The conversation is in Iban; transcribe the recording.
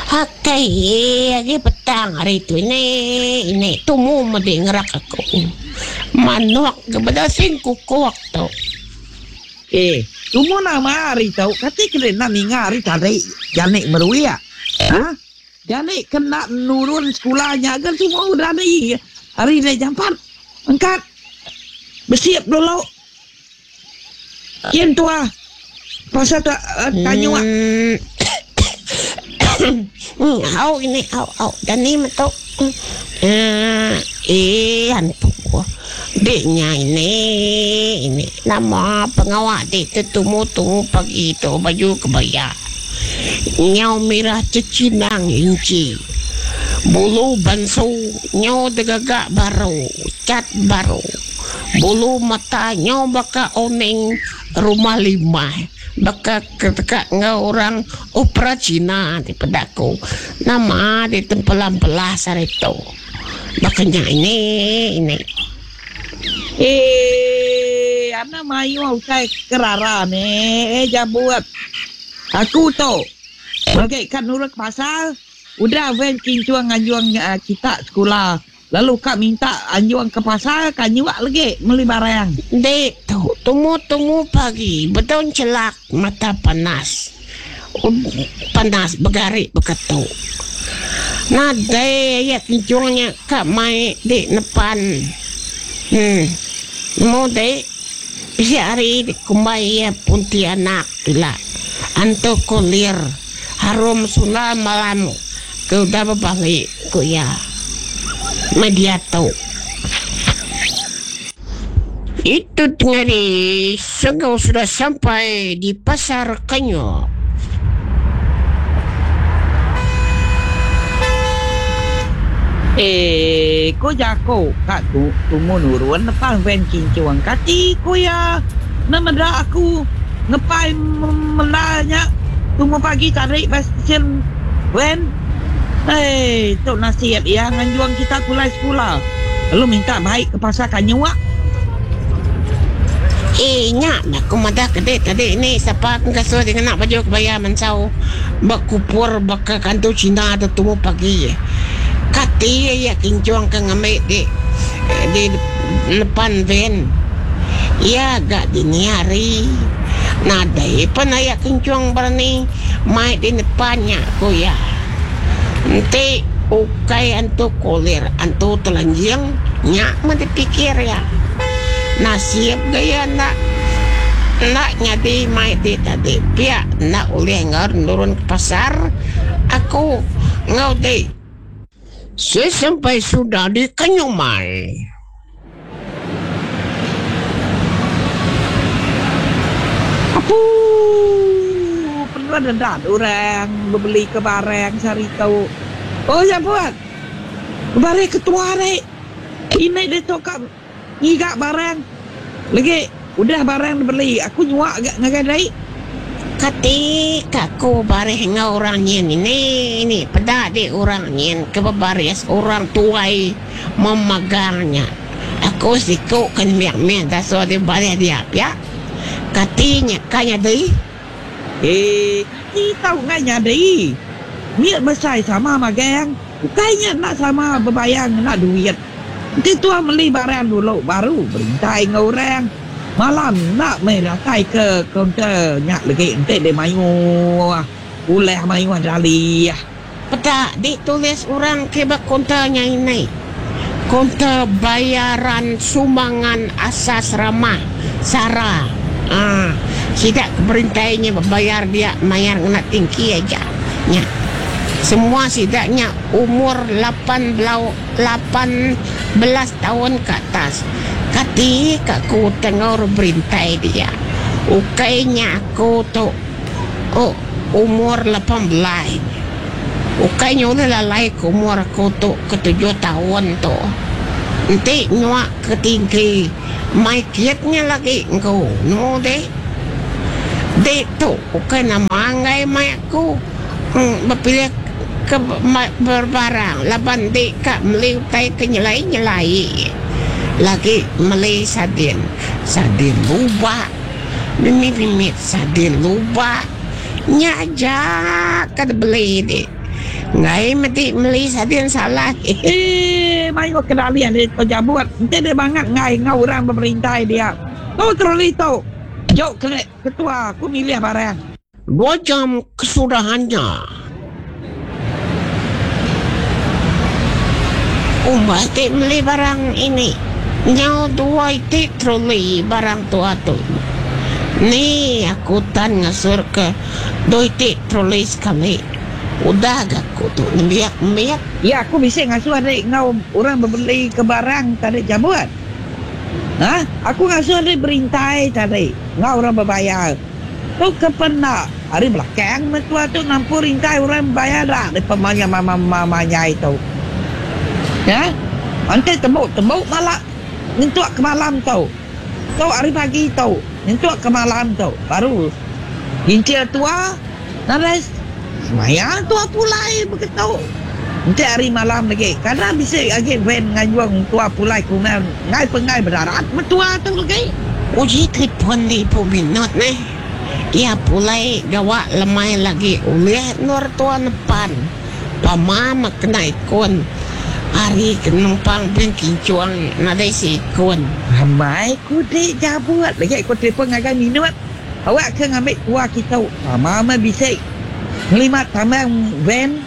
Akai agi petang hari tu ini ini tumu medi ngerak aku. Manok ga bedasing kukuk tu. Eh, tumu nama hari tu kati ke enda ninga hari tadi janik meruik. Ha? Janik ke enda nurun sekula nya ga tumu udah ni hari deh jampat. Engkat. Besiap dulu. Kin tua pasal ta tanyuk. Au ini au au dani metu. Eh antu dik nya ini ini nama pengawa dik tetumu tumu pagi tu baju kebaya nyau mirah chechinang inchi bulu bansu nyau degaga baru cat baru. Bulu mata nyau baka oning rumah limah baka ke deka enggau orang opera Cina ti peda aku. Nama ti tempelah-empelah sehari tu. Baka nya ini ini. Eii anak mayuh utai kerara neh jabut. Aku tu lagi ka nurut pasal udah van kinchung nganjung kita sekula. Lalu ka minta anjung ke pasar ka nyuak legi meli barang. Enti tu tumu-tumu pagi bedau chelak mata panas. Panas begari beketu. Nadai aya kinchung nya ka mai di nepan. Em nemu di bisi hari dikumbai iya Pontianak ila antu kulir harum sundal malam. Ke udah bebali, ku iya. Meh diatu. Itu tengah-hari Senggau sudah sampai di pasar Kanyuk. Eh, ku jaku ka tu tumu nurun nepan van Chinchung kati ku iya ne meda aku ngepai menda nya tumu pagi tadi ba stesen Van, Hei, tu nasib iya nganjung kita pulai sekula lalu minta bai ke pasar Kanyuk. Eh, nya meh aku madah ke dek tadi ni sapa ke ngasuh dek ngena baju kebaya mansau bekupur baka kantu Cina tu tumu pagi. Kati iya kinchung ke ngambi dek di depan van. Iya ga dini hari. Nadai pan aya kenchung berani mai di nepan nya, ku iya. Enti ukai antu kulir, antu telanjing, nya meh dipikir iya. Nasib ga iya enda enda nyadi mai ti tadi pia enda ulih enggau nurun ke pasar aku enggau ti. Sesampai sudah di Kenyumai. Apu penuh dedat orang bebeli ke barang sehari tu. Oh ya pun. Bebari ketua ri. Ini ditu ka ngiga barang. Legi udah barang dibeli aku nyua ga ngagai dei. Kati ka aku barih enggau orang nyin ini ini peda di orang nyin ke bebaris orang tuai memegang nya. Aku siku ke nembiak mih dasuh di barih dia pia. Kati nya ka nyadi? Eh kati tau enggai nyadi. Mit besai sama magang. Ukai nya enda sama bebayar ngena duit. Enti tuah meli barang dulu baru berintai enggau orang. Malam enda meh datai ke kaunter nya legi enti deh mayuh ulah mayuh dalih. Peda ditulis orang ke ba kaunter nya ini, Kaunter Bayaran Sumbangan Asas Ramah, SARA. Aa sida ke berintai nya bebayar dia mayar ngena tingki aja nya. Semua sida nya umur lapan belau. 18 taun ke atas. Kati ka ku Tengor berintai dia. Ukai nya aku tu umur 18. Ukai nya ulih lalai ke umur aku tu ke tujuh taun tu. Enti nyua ke tinggi mai kit nya lagi engku nemu deh. Dek tu ukai nama enggai mai aku. Bepilih ke berbarang laban enti ka meli utai ke nyelai-nyelai lagi meli sardin. Sardin lubak. Mimit-mimit sardin lubah nya aja ka dibeli di. Enggai medi meli sardin salah. Eii mayuh kedalih di tu jabut enti deh bangat enggai enggau orang beberintai dia. Tu troli tu. Juk ketua aku milih barang. Dua jam kesudahannya. Umbas ti meli barang ini. Nyau dua iti troli barang tua tu. Ni aku tan ngasur ke dua iti troli sekali. Udah ga aku tu nembiak mit. Ya aku bisi ngasuh adi enggau orang bebeli ke barang tadi jabut. Ha aku ngasuh adi berintai tadi enggau orang bebayar. Tu ke penda ari belakang mentua tu nampur rintai orang bayar da di pemanya manyai tu. Ya. Enti tembu tembu bala nyentuk ke malam tu. Tu ari pagi tu nyentuk ke malam tu baru ginchir tua nadai semaya tua pulai begitu. Enti ari malam lagi kada bisi agi van nganjung tua pulai ke rumah enggai penggai bedarat mentua tu lagi. Uji telefon di Ibu Minot neh. Iya pulai gawa lemai lagi ulih endur tua nepan. Pama meh kena ikun. Ari ke numpang bin kinchung nadai seikun. Amai ku dik jabut lagi ku telefon ngagai Minot. Awak ke ngambi tua kitu. Pama meh bisi ngelimat tambang van.